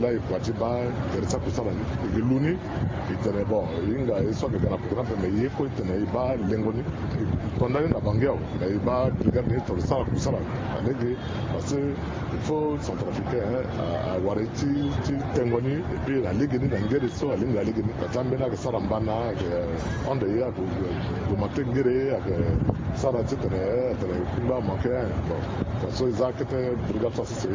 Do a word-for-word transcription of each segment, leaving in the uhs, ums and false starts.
Laa e kua ti baa gere ti akusala ni, e ke lu ni. E tene bon, e hinga ye so ayeke ga na poko ni ape, me ye kue e tene e baa lengo ni. E tonda ni na Bangui awe, me e baa brigade ni tongana e sara kusala na lege. Parce que il faut centrafricain awara ye ti tengo ni. Et puis na lege ni na ngere so alingbi na lege ni. Ka ti ambeni ayeke sara mbana, ayeke hon de ye, ayeke gomate ngere, ayeke sara titene atene kungba manke. Bon, façon e za kete brigade so asese.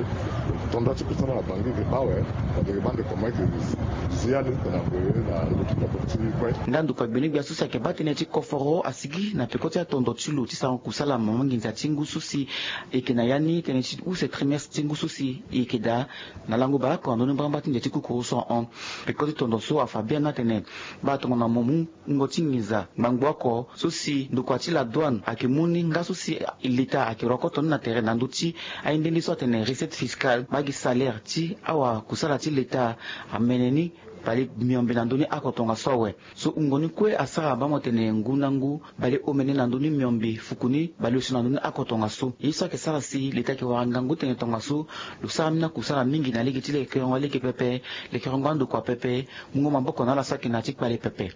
Tonda ti kusala na Bangui e ke baa awe. Ade e baa nde comment e ke zi ya ni titene ague na lo ti toko ti kue. Nda ndokua gbene-gbia so si ayeke baa tënë ti koforo asigi na peko ti atondo ti lo ti sarango kusala mama nginza ti ngu so si e yeke na ya ni tënë ti use trimestre ti ngu so si e yeke daa. Na lango baleoko na ndö ni mbrambra ti nze ti kukuru so ahon. Peko ti tondo so afa biani atene baa tongana mo mu wungo ti nginza ngbangbo oko so si ndokua ti la douane ayeke mu ni nga so si leta ayeke rokoto ni na tere na ndö ti aye nde nde so atene recette fiscale, mbage salaire ti awakusala ti leta amene ni bale miombe na ndö ni oko tongaso awe. So wungo ni kue asara baa mo tene ngu na ngu bale omene na ndö ni miombe fuku ni bale osio na ndö ni oko tongaso. Ye so ayeke sara si leta ayeke wara ngangu tene tongaso lo sara ambeni akusala mingi na lege ti lekerengo alege pepe, lekerengo andokua pepe, mungo maboko na ala so ayeke na ya ti kpale pepe.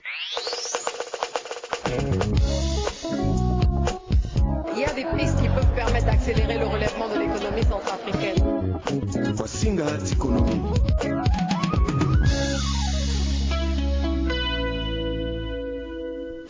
Il y a des pistes qui peuvent permettre d'accélérer le relèvement de l'économie centrafricaine. Fasinga ti économie.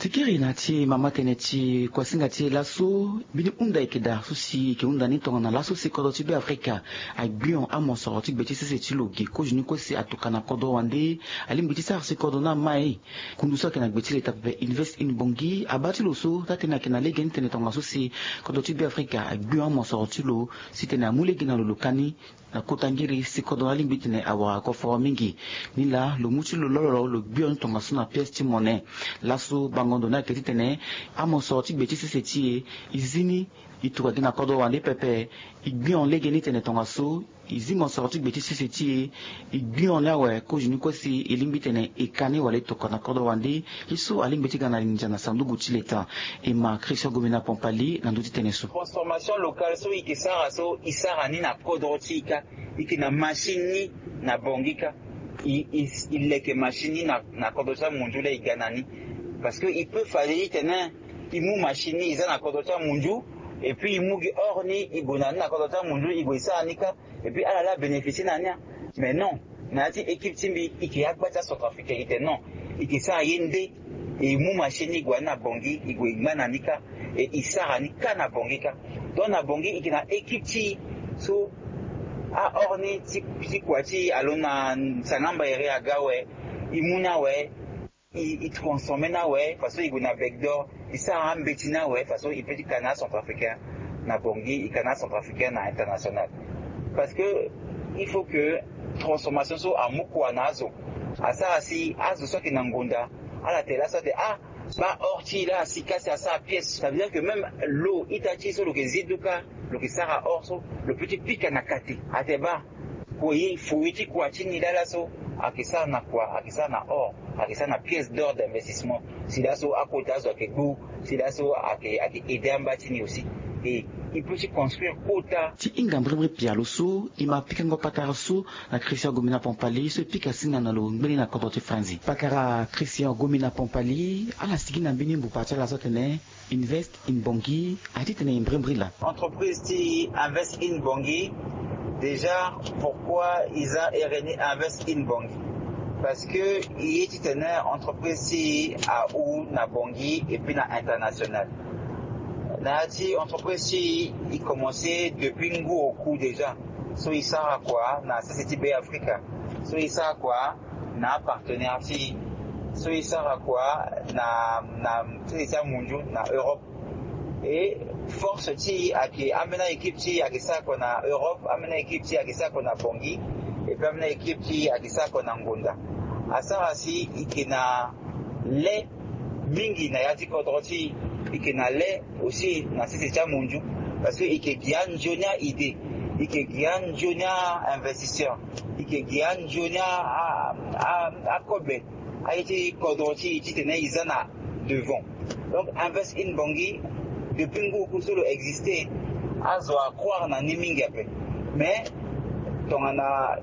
Tikiri na ti mama tënë ti kuasinga ti e laso, mbeni hunda e yeke daa so si e yeke hunda ni tongana laso si kodro ti Beafrika agbion amosoro ti gbe ti sese ti lo ge kozo ni kue si atoka na kodro wande. Alingbi ti sara si kodro ni amai. Kundu so ayeke na gbe ti leta pepe Invest in Bangui abaa ti lo so taa-tënë ayeke na lege ni tene tongaso si kodro ti Beafrika agbion amosoro ti lo si tene amu lege na lo lo ka ni na kota ngiri si kodro ni alingbi titene awara koforo mingi. Nilaa lo mu ti lo lololo lo gbio ni tongaso na pièce ti mone. Laso bango ndo ni ayeke titene amosoro ti gbe ti sese ti e e zi ni e tuka gi na kodro wande pepe. E gbio lege ni tene tongaso e zi mosoro ti gbe ti sese ti e. E gbio ni awe kozo ni kue si e lingbi tene e ka ni wala e tokua na kodro wande. Ye so alingbi ti ga na nginza na sanduku ti leta. E ma Christian Gomina Pompali na ndö ti tënë so. Transformation locale so e yeke sara so e sara ni na kodro ti e kâ. E yeke na machine ni na Bangui kâ. E, e, e leke machine ni na, na kodro ti amunzu laa e ga na ni. Parce que e peut fade titene e mu machine ni e za na kodro ti amunzu. Et puis e mu gi or ni e gue na ni na kodro ti amunzu e gue e sara ni kâ. Et puis ala laa abénéficier na ni. Mais non, na ya ti équipe ti mbi e yeke agba ti acentrafricain e tene non. E yeke sara ye nde. E mu machine ni e gue na ni na Bangui e gue e ngba na ni kâ. Et e sara ni kâ na Bangui kâ. Donc na Bangui e yeke na équipe ti e so a or ni ti, ti kua ti e alo na sangamba ere aga awe. E mu ni awe. E, e transformer ni awe façon e gue na Bec d'Or e sara ambeti ni awe façon e peut ti ka na acentrafricain na Bangui e ka na acentrafricain na international. Parce que il faut que transformation so amu kua na azo. Asara si azo so ayeke na ngonda ala tene laso ate ah, baa or ti e laa asi kâ si asara pièce. Ça veut dire que même lo ita ti e so lo yeke zi duka lo yeke sara or so lo peut ti pika na kate ate baa. Kue ye foye ti kua ti ni laa laso ayeke sara na kua? Ayeke sara na or, ayeke sara na pièce d'or d'investissement. Si laso akota azo ayeke gbu, si laso ayeke, ayeke aide amba ti ni aussi. Et e peut ti construire kota. Ti hinga mbrimbri pialo so e ma pikango patara so na Christian Gomina Pompali so e pika singa na lo ngbeni na kodro ti Franzi. Pakara Christian Gomina Pompali ala sigi na mbeni mbupa ti ala so atene Invest in Bangui, a titene e mbrimbri laa. Entreprise ti Invest in Bangui, déjà pourquoi e za ere ni Invest in Bangui? Parce que e ye titene entreprise ti e ahou na Bangui et puis na international. Na ya ti entreprise ti e e commencer depuis ngu oku déjà. So e sara kua na sese ti Beafrika. So e sara kua na apartenaire ti e. So e sara kua na, na sese ti amunzu na Europe. Et force ti e ayeke ambeni a-équipe ti e ayeke sara kua na Europe, ambeni a-équipe ti e ayeke sara kua na Bangui, et puis ambeni a-équipe ti e ayeke sara kua na ngonda. Asara si e yeke na le mingi na ya ti kodro ti e, e yeke na le aussi na sese ti amunzu. Parce que e yeke gi anzoni a-idée, e yeke gi anzoni a-investisseur, e yeke gi anzoni a, a, a, akobe aye ti kodro ti e titene e za na devant. Donc Invest in Bangui, depuis ngu oku so lo existe, azo acroire na ni mingi ape. Mais tongana